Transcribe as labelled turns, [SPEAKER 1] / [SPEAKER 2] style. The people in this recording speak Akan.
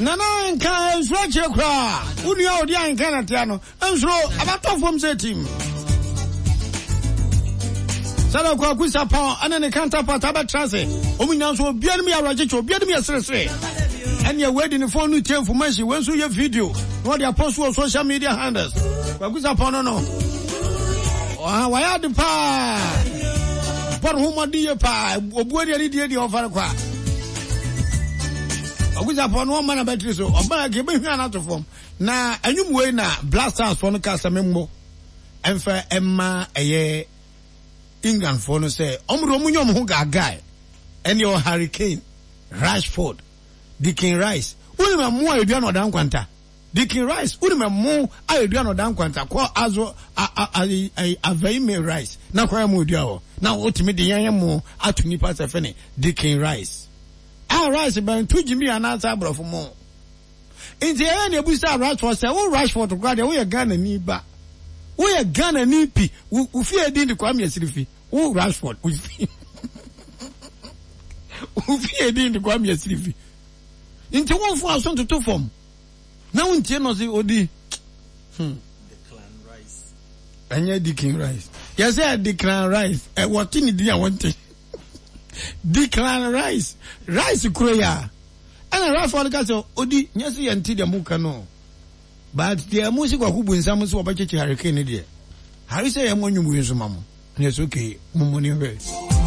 [SPEAKER 1] Nana nka nsuro akyire koraa. Wo nua a ɔdi ahenka na tea no, nsuro, ɛbɛtɔ fam sɛ tim. Sɛdeɛ Kwaku Sapɔn ɛne ne counterpart abɛtra ase, wɔn nyinaa nso obiara nim yɛ awerɛkyekye, obiara nim yɛ seresere. Ɛnneɛ wei de ne phone no tie information, wei nso yɛ video na wɔde apɔ so wɔ social media handles. Kwaku Sapɔn no no, wayɛ ade paa, bɔ ne ho mmɔden yie paa, obuo deɛ ne die deɛ ɔfa no kwa. Kwaku Sapɔn no ɔmma n'abatiri so, ɔba a kebe hwia no ato fam. Na anwum wei na Black Stars foɔ no kaa sɛ memmɔ ɛmfa ɛma ɛyɛ England foɔ no sɛ wɔn de wɔn nyɛ wɔn ho gaagae ɛne ɔ Harry Kane, Rashford, Declan Rice. Wonim ɛmo a edua na ɔda nkwanta? Declan Rice, wonim ɛmo a edua na ɔda nkwanta? Kɔ azo a a a Aveyime Rice na kɔ ɛmo edua hɔ na wotumi de yɛn ɛmo ato nipa sɛ fɛne Declan Rice. A Rice bɛn to gyimi anaasɛ aborɔfo mo? Nti ɛyɛ na ebusa Rashford sɛ wo Rashford koraa deɛ woyɛ Ghana ni ba woyɛ Ghana ni pi wo fie din de Kwame Asirifi wo Rashford wo fie wo fie din de Kwame Asirifi nti wo nfo aso ntoto fam na wo ntie no se odi hmm ɛnyɛ Declan Rice yɛsɛ Declan Rice wɔte ne din a wɔnte Declan Rice Rice kuro yi a Ɛna Rashford ka sɛ, Odi, nyɛ sɛ yɛnte deɛ moka no o, but deɛ mo se Kwaku Bonsam sɛ wɔbɛkyekye Harry Kane no deɛ, Harry sɛ yɛmmɔ nnwom wei nso ma mo. Ɛna ɛsɛ okay, mommɔ ne nhwɛ.